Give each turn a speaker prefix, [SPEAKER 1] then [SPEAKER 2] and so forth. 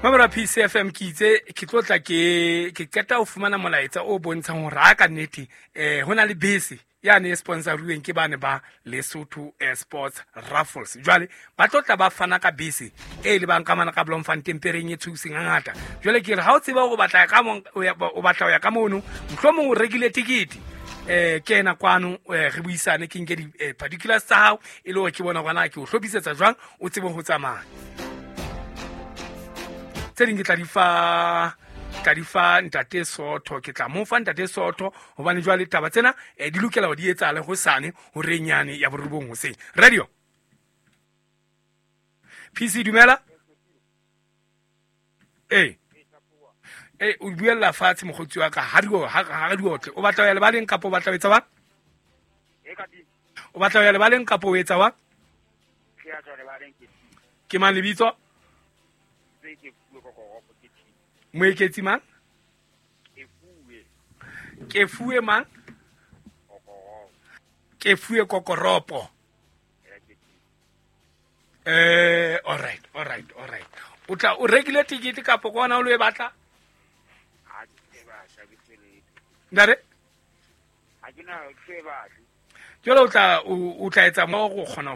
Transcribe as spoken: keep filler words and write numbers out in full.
[SPEAKER 1] Mamora P C F M ke itse ke tlo tla ke ke qeta ho fumana molaetsa o bontshang hore ha ka nnete eh hona le bese ya ne sponsoruweng ke bane ba Lesotho Sports Raffles. Jwale ba tlo tla ba fana ka bese e le bang ka mana ka Bloemfontein pereng e thuseng hangata. Jwale ke re ha o tseba hore o batla ka mong o batla ho ya ka mono, mohlomong o rekile tikete eh ke ena kwano re buisane ke nke di particulars tsa hao e le hore ke bona hore na ke o hlophisetsa jwang o tsebe ho tsamaya. Tse ding ke tla di fa tla di fa ntate Sotho, ke tla mo fa ntate Sotho hobane jwale taba tsena di lokela ho di etsahale hosane hore nyane ya borobong hoseng. Radio P C dumela. Eh eh o buella fatshe mokgotsi wa ka ha di ha di otle. O batla ho ya lebaleng kapa o batla ho etsa wa? O batla ho ya lebaleng kapa o etsa wa? Ke mang lebitso? Moeketsi mang? Ke fuwe mang? Ke fuwe kokoropo. Eh, all right, all right, all right. O tla o rekile tikete kapa kona o lo e batla?
[SPEAKER 2] Ha ke batla ke tswelele.
[SPEAKER 1] Ndare?
[SPEAKER 2] Ha ke na ke batla.
[SPEAKER 1] Jwale o tla o tla etsa mo go kgona